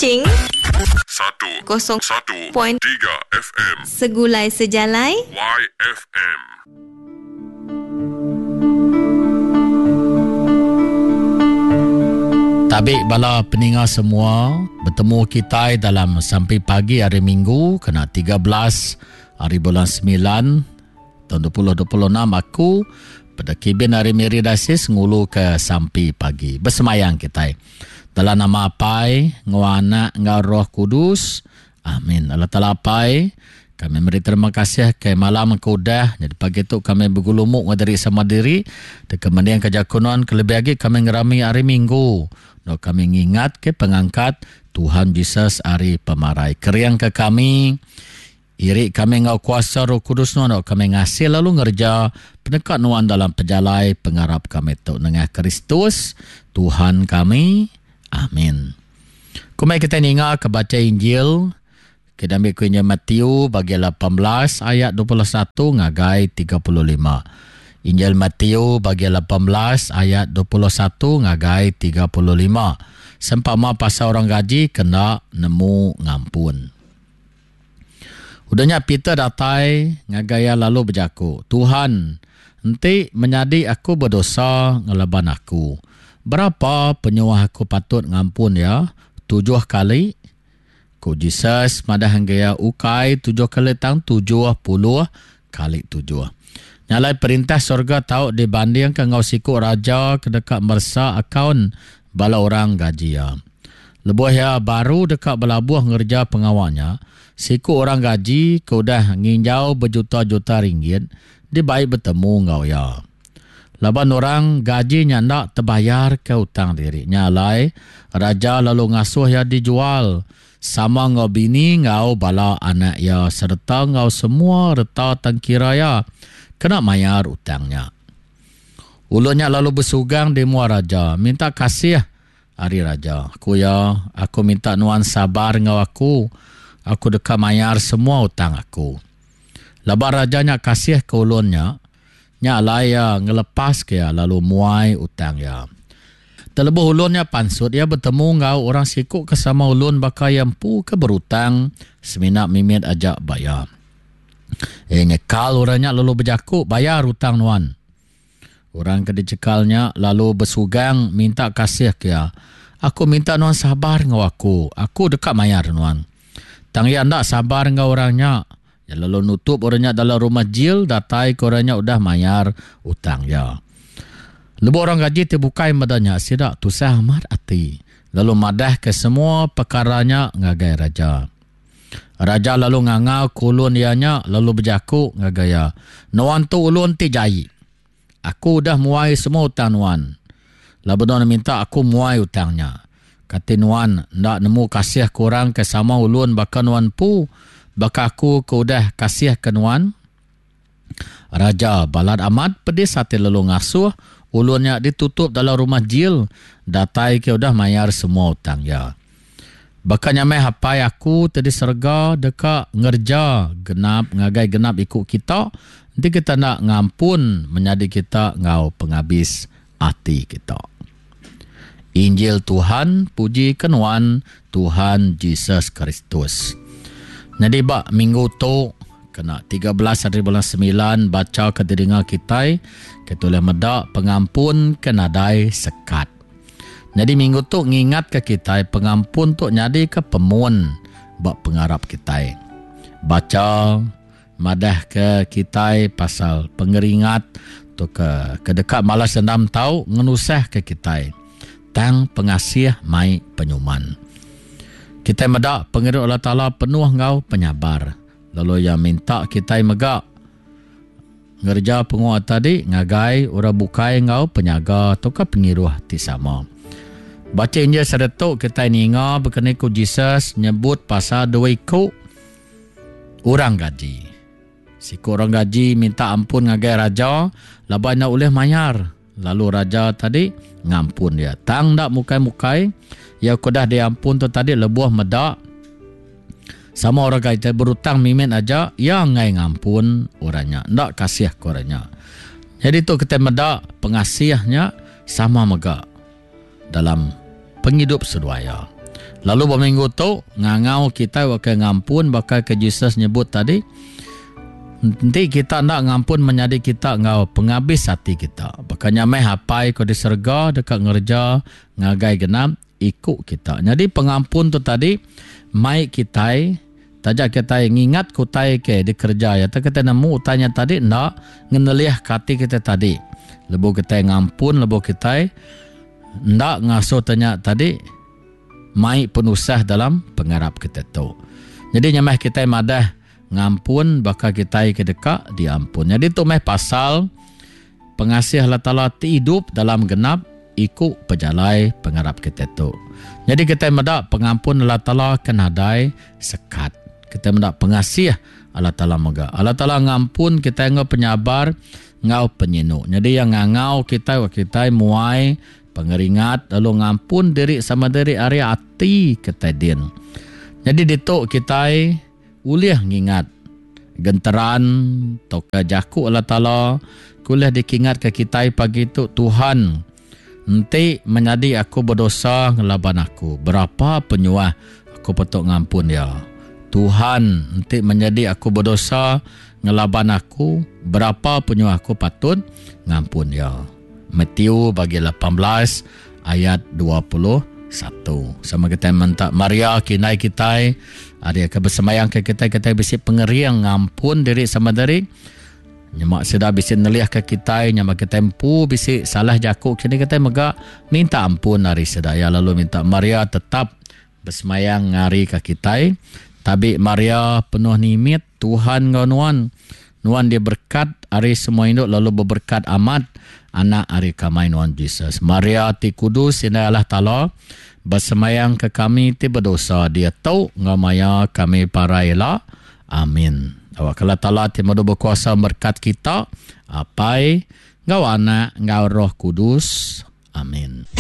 Kuching Satu kosong satu point tiga FM Segulai Sejalai YFM. Tabi bala peninga semua, betemu kitai dalam sampi pagi hari Minggu kena 13 hari bulan 9 tahun 2026 aku pada kibin hari Miri Dasis ngulu ke sampi pagi. Bersemayang kitai. Dalam nama Apai, ngau Anak, ngau Roh Kudus. Amin. Allah Taala Apai, kami meri terima kasih ke malam ke udah. Jadi pagi tu kami begulumuk ngau diri sama diri. Deka mending ke jaku nuan ke lebih agi kami ngerami hari Minggu. No kami ngingat ke pengangkat Tuhan Jesus hari pemarai. Kering ke kami, iri kami ngau kuasa Roh Kudus nuan, no kami ngasih lalu ngerja peneka nuan dalam pejalai pengarap kami tu nengah Kristus Tuhan kami. Amin. Kumai kita ninga ke baca Injil kita ambil ku Injil Matthew bagi 18 ayat 21 ngagai 35. Injil Matthew bagi 18 ayat 21 ngagai 35. Sempama pasal orang gaji kena nemu ngampun. Udahnya Peter datai ngagai iya lalu bejaku, Tuhan, enti menyadi aku berdosa ngelaban aku, berapa penyuah aku patut ngampun ya? 7 kali? Ku Jesus madah hingga iya ukai 7 kali tang 70 kali 7. Nyalai perintah surga tau dibandingkan ngau siku raja ke dekat mersa akaun bala orang gaji ya. Lebuh ya baru dekat belabuh ngerja pengawalnya, siku orang gaji ke udah nginjau berjuta-juta ringgit dibaik bertemu ngau ya. Laban orang gaji nya ndak terbayar ke utang diri. Nyalai raja lalu ngasuh ya dijual sama ngau bini ngau bala anak ya serta ngau semua reta tangkira ya kena mayar utangnya. Ulunnya lalu bersugang di mua raja minta kasih ari raja. Aku ya, aku minta nuan sabar ngau aku. Aku deka mayar semua utang aku. Laban rajanya kasih ke ulunnya, nya alai ya ngelepas ke ya lalu muai utang ya. Terlebuh ulunnya pansut ya bertemu ngau orang siku ke sama ulun baka yang empu ke berutang semina mimit ajak bayar. Nyekal orangnya lalu berjaku bayar utang nuan. Orang ke dicekalnya lalu bersugang minta kasih ke ya. Aku minta nuan sabar ngau aku. Aku dekat mayar nuan. Tang ya ndak sabar ngau orangnya. Ya lalu nutup orangnya dalam rumah jil datai ke orangnya udah mayar utang ya. Lebuh orang gaji terbukai madanya sidak tusah amat ati. Lalu madah ke semua perkaranya ngagai raja. Raja lalu ngangau kulun ianya lalu berjaku ngagai ya. Nuan tu ulun ti jai. Aku udah muai semua utang nuan. Lalu nuan minta aku muai utangnya. Kata nuan ndak nemu kasih kurang ke sama ulun baka nuan pu baka aku ke udah kasih ke nuan. Raja balad amat pedis hati lalu ngasuh ulunnya ditutup dalam rumah jil datai ke udah mayar semua utang ya. Baka nyamai hapai aku tadi serga deka ngerja genap ngagai genap ikut kita nanti kita nak ngampun menyadi kita ngau penghabis ati kita. Injil Tuhan, puji kenuan Tuhan Jesus Kristus. Jadi bak minggu tu kena 13 hari bulan 9 baca ke telinga kita kita boleh medak pengampun ke nadai sekat. Jadi minggu tu ngingat ke kita pengampun tu nyadi ke pemun bak pengarap kita. Baca madah ke kita pasal pengeringat tu ke kedekat malas dendam tau ngenusah ke kita. Tang pengasih mai penyuman. Kita medak pengiru Allah Taala penuh ngau penyabar. Lalu yang minta kita megak ngerja penguat tadi ngagai orang bukai ngau penyaga atau ke pengiruh ti sama. Baca Injil seretuk kita ninga berkenai ku Jesus nyebut pasal dua iku orang gaji. Siku orang gaji minta ampun ngagai raja laban nak oleh mayar. Lalu raja tadi ngampun dia. Tang dak mukai-mukai ya kudah diampun tu tadi lebuh medak sama orang gaji berutang mimin aja ya ngai ngampun orangnya. Ndak kasih ke orangnya. Jadi tu kita medak pengasihnya sama megak dalam penghidup seduaya. Lalu ba minggu tu, ngangau kitai waka ngampun baka ke Jesus nyebut tadi, Enti kita enda ngampun menyadi kita enggau pengabis ati kita, baka nya meh Apai ke di serega deka ngereja ngagai genap iku kita. Nyadi pengampun tu tadi mai kitai taja kitai ngingatka utai ke dikereja iya tang kitai nemu utai nya tadi enda ngenelihka ati kitai tadi. Lebuh kitai ngampun lebuh kitai enda ngasuh te nya tadi mai penusah dalam pengarap kitai tu. Nyadi nya meh kitai madah ngampun baka kitai ke deka diampun. Nyadi tu meh pasal pengasih Allah Taala ti idup dalam genap iku pejalai pengarap kitai tu. Nyadi kitai meda pengampun Allah Taala ke nadai sekat. Kitai meda pengasih Allah Taala mega. Allah Taala ngampun kitai enggau penyabar enggau penyinu. Nyadi iya ngangau kitai wak kitai muai Pengeringat lalu ngampun diri sama diri ari ati kitai din. Nyadi ditu kitai ulih ngingat genteran tauka jaku Allah Taala ke ulih dikingatka kitai pagi tu, Tuhan, enti menyadi aku bedosa ngelaban aku, berapa penyuah aku patut ngampun iya? Tuhan, enti menyadi aku bedosa ngelaban aku, berapa penyuah aku patut ngampun iya? Matthew bagi 18 ayat 21. Sama kitai menta Maria ke indai kitai ari ke besembayang ke kitai kitai bisi pengering ngampun diri sama diri. Nyema sida bisi nelih ke kitai nyema kitai empu bisi salah jaku kini kitai mega minta ampun ari sida ya lalu minta Maria tetap besemayang ngari ke kitai. Tabi Maria penuh nimit Tuhan enggau nuan. Nuan diberkat ari semua indu lalu beberkat amat anak ari kamai nuan Jesus. Maria ti kudus indai Allah Taala, besemayang ke kami ti bedosa diatu enggau maya kami parai ila. Amin. Awakka Allah Taala ti madu bekuasa merkat kita, Apai, enggau Anak, enggau Roh Kudus. Amin.